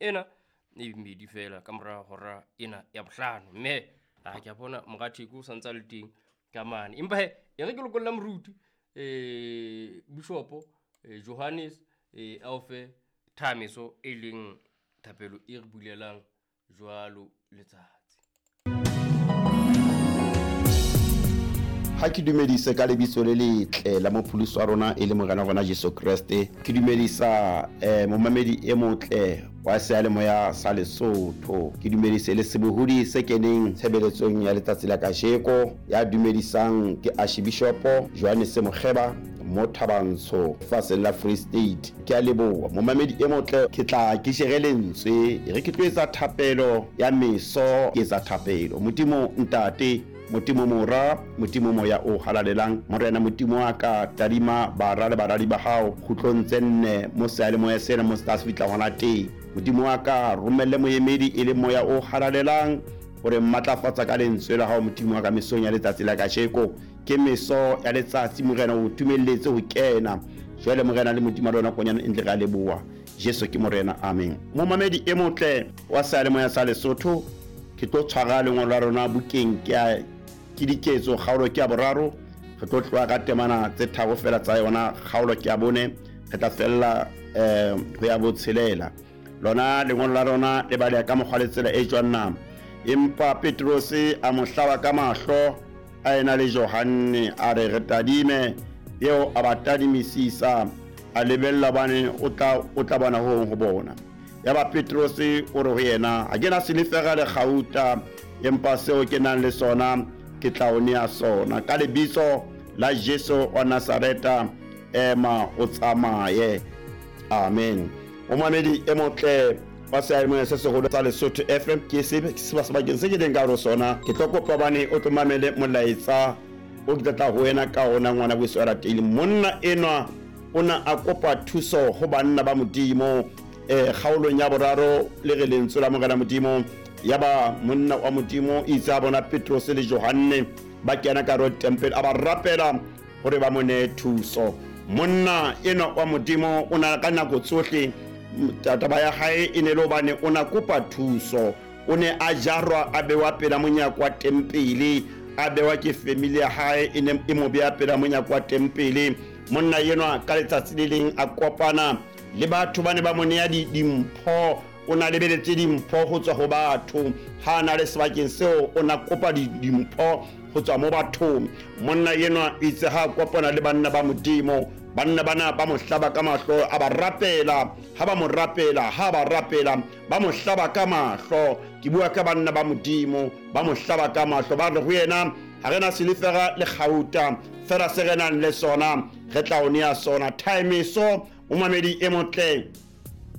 ena e mmedi fela ka mora hora ena ya bohlano. Mme a ke a bona moratheko o santse a le teng ka mane, empa he e re ke lokolla moruti bishopo Johannes a o fe thameso e leng thapelo e re bulelang jwalo letsatsi. Ha ke dumedise ka lebitso le letle la mopholosi wa rona e le Morena wa rona Jesu Kreste. Ke dumedisa momamedi e motle wa seyalemoya sa Lesotho. Ke dumedise le sebohodi se keneng tshebeletsong ya letsatsi la kajeko. Ya dumedisang ke Archibishopo Johannes Mokgeba mo Thabantsho lefatsheng la Free State. Ke a leboha momamedi e motle. Ke tla ke jere lentswe e re ke tlo etsa thapelo ya meso. Ke etsa thapelo. Modimo Ntate, Modimo Mora, Modimo Moya o Halalelang, Morena Modimo wa ka, tadima bara le baradi ba hao kgutlong tse nne mo seyalemoya sena mo se tla se fihla hona teng. Modimo wa ka, romelle moemedi e leng Moya o Halalelang hore mmatlafatsa ka lentswe la hao Modimo wa ka mesong ya letsatsi la kajeko. Ke meso ya letsatsi Morena o tumelletse ho kena. Jwale Morena le Modimo wa lona konyana e ntle re a leboha. Jesu ke Morena. Amen. Momamedi e motle wa seyalemoya sa Lesotho, ke tlo tshwara lengolo la rona bukeng ke ya ke diketso kgaolo ke ya boraro. Re tlo tloha ka temana tse tharo fela tsa yona kgaolo ke ya bone, re tla fella ho ya botshelela. Lona lengolo la rona le baleha ka mokgwa le tsela e jwang na? Empa Petrose a mo hlaba ka mahlo a ena le Johanne, a re, re tadime. Eo a ba tadimisisa, a lebella hobane o tla bona ho hong ho bona. Yaba Petrose o re ho yena, ha ke na silefera le kgauta, empa seo ke nang le sona ke tla o nea sona. Ka lebitso la Jesu wa Nazareta, ema o tsamaye. Amen. Momamedi e motle wa seyalemoya se seholo sa Lesotho FM, ke sebakeng se ke leng ka hare ho sona. Ke tlo kopa hobane o tlo mamele molaetsa o ke tla tla ho wena ka ona, ngwana weso ya ratehileng. Monna enwa o na a kopa thuso ho banna ba Modimo kgaolong ya boraro le re lentswe la Morena Modimo. Yaba monna wa Modimo itse a bona Petrose le Johanne ba kena ka hare ho tempele, a ba rapela hore ba mo nee thuso. Monna enwa wa Modimo o na ka nako tsohle taba ya hae e ne le hobane o na kopa thuso. O ne a jarwa a bewa pela monyako wa tempele, a bewa ke family ya hae e ne e mo beya pela monyako wa tempele. Monna enwa ka letsatsi le leng a kopana le batho ba ne ba mo nea dimpho. O na lebeletse dimpho ho tswa ho batho. Ha a na le sebakeng seo o na kopa dimpho ho tswa mo bathong. Monna enwa itse ha a kopana le banna ba Modimo, banna bana ba mo hlaba ka mahlo, a ba rapela. Ha ba mo rapela, ha ba rapela, ba mo hlaba ka mahlo. Ke bua ka banna ba Modimo, ba mo hlaba ka mahlo, ba re ho yena, ha re na silefera le kgauta, fela se re nang le sona re tla o nea sona. Thaemeso momamedi e motle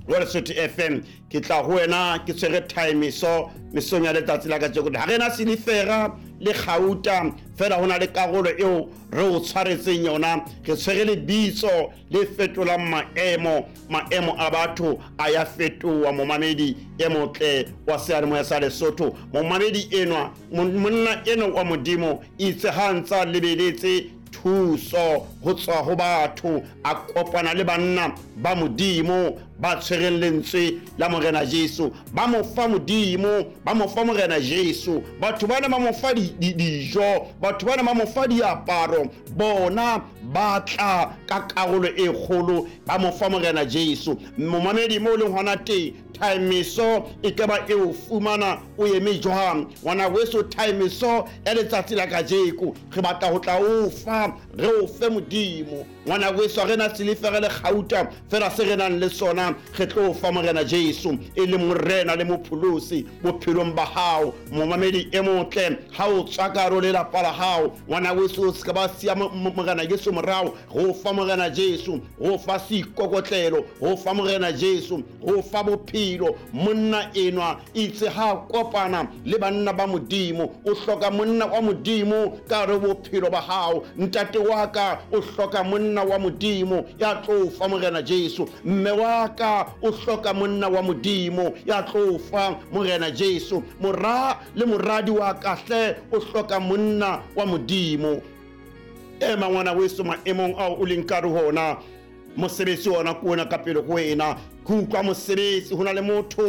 wa Lesotho FM, ke tla ho wena ke tshwere thaemeso mesong ya letsatsi la kajeko. Ha re na silefera le kgauta, fela ho na le karolo eo re o tshwaretseng yona. Re tshwere lebitso le fetolang maemo, maemo a batho a ya fetoha. Momamedi e motle wa seyalemoya sa Lesotho, momamedi enwa, monna enwa wa Modimo itse ha ntsa lebeletse thuso ho tswa ho batho, a kopana le banna ba Modimo ba tshwereng lentswe la Morena Jesu, ba mo fa Modimo, ba mo fa Morena Jesu. Batho bana ba mo fa dijo, batho bana ba mo fa diaparo, bona ba tla ka karolo e kgolo, ba mo fa Morena Jesu. Momamedi mo leng hona teng, thaemeso e ka ba e o fumana o eme jwang? Ngwana weso, thaemeso ya letsatsi la kajeko re batla ho tla o fa, re o fe Modimo. Ngwana weso, ha re na silefera le kgauta, fela se re nang le sona re tlo fa Morena Jesu, e leng Morena le Mopholosi bophelong ba hao. Momamedi e motle, ha o tswa ka hare ho lelapa la hao, ngwana weso, o se ka ba siya Morena Jesu morao. Re o fa Morena Jesu, re o fa seikokotlelo, re o fa Morena Jesu, re o fa bophelo. Monna enwa itse ha kopana le banna ba Modimo, o hloka monna wa Modimo ka hare bophelo ba hao. Ntate wa ka o hloka monna wa Modimo ya tlo fa Morena Jesu. Mme wa ka o hloka monna wa Modimo ya tlo fa Morena Jesu. Mora le moradi wa ka hle o hloka monna wa Modimo. Ema ngwana weso maemong ao o leng ka re hona, mosebetsi ona ke ona ka pele ho wena. Ke utlwa mosebetsi, ho na le motho.